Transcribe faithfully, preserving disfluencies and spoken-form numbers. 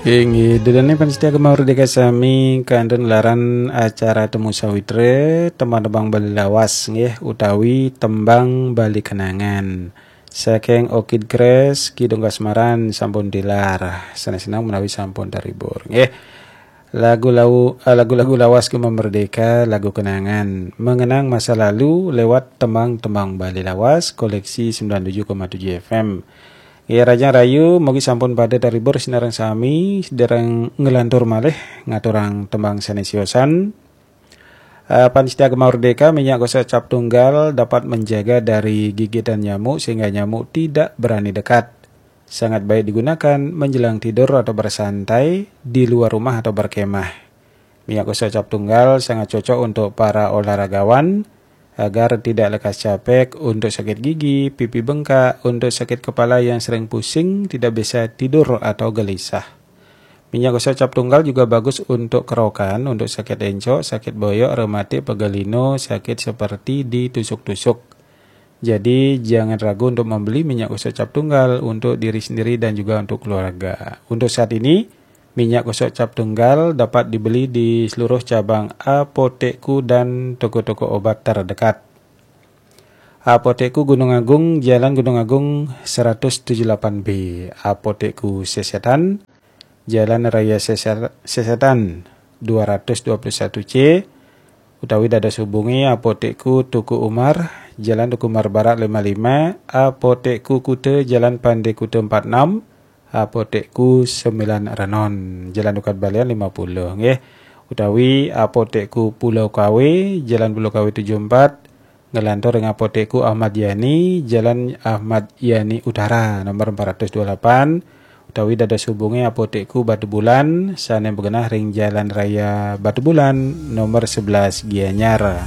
Inggih, dudoning pamiarsa Gema Merdeka sami, kantun laran acara Temu Sawitra, tembang-tembang Bali lawas nggih, utawi tembang Bali kenangan. Saking Orchid Grass, Kidung Kasmaran sampun tilar. Sanés seneng menawi sampun terhibur nggih. Lagu lau, eh, lagu-lagu lawas Gema Merdeka, lagu kenangan. Mengenang masa lalu lewat tembang-tembang Bali lawas, koleksi sembilan tujuh koma tujuh F M. Ya, rahajeng rahayu, mugi sampun pada terhibur sinareng sami, sedhereng nglantur malih ngaturang tembang sanés siosan. Eh, pamiarsa Gema Merdeka, minyak gosok cap tunggal dapat menjaga dari gigitan nyamuk sehingga nyamuk tidak berani dekat. Sangat baik digunakan menjelang tidur atau bersantai di luar rumah atau berkemah. Minyak gosok cap tunggal sangat cocok untuk para olahragawan agar tidak lekas capek, untuk sakit gigi, pipi bengkak, untuk sakit kepala yang sering pusing, tidak bisa tidur atau gelisah. Minyak gosok cap tunggal juga bagus untuk kerokan, untuk sakit encok, sakit boyok, rematik, pegal linu, sakit seperti ditusuk-tusuk. Jadi, jangan ragu untuk membeli minyak gosok cap tunggal untuk diri sendiri dan juga untuk keluarga. Untuk saat ini, minyak gosok cap tunggal dapat dibeli di seluruh cabang Apotekku dan toko-toko obat terdekat. Apotekku Gunung Agung, Jalan Gunung Agung seratus tujuh delapan B. Apotekku Sesetan, Jalan Raya Sese-, Sesetan dua ratus dua puluh satu C, utawi dados hubungi Apotekku Teuku Umar, Jalan Teuku Umar Barat lima lima, Apotekku Kuta, Jalan Pande Kuta empat enam, Apotekku Sembilan Renon, Jalan Dukat Balian lima puluh, nggih. Utawi Apotekku Pulau Kawe, Jalan Pulau Kawe tujuh empat, nglantur ring Apotekku Ahmad Yani, Jalan Ahmad Yani Utara, nomor empat ratus dua puluh delapan, utawi dados hubungi Apotekku Batubulan, sané magenah ring Jalan Raya Batubulan, nomor sebelas, Gianyar.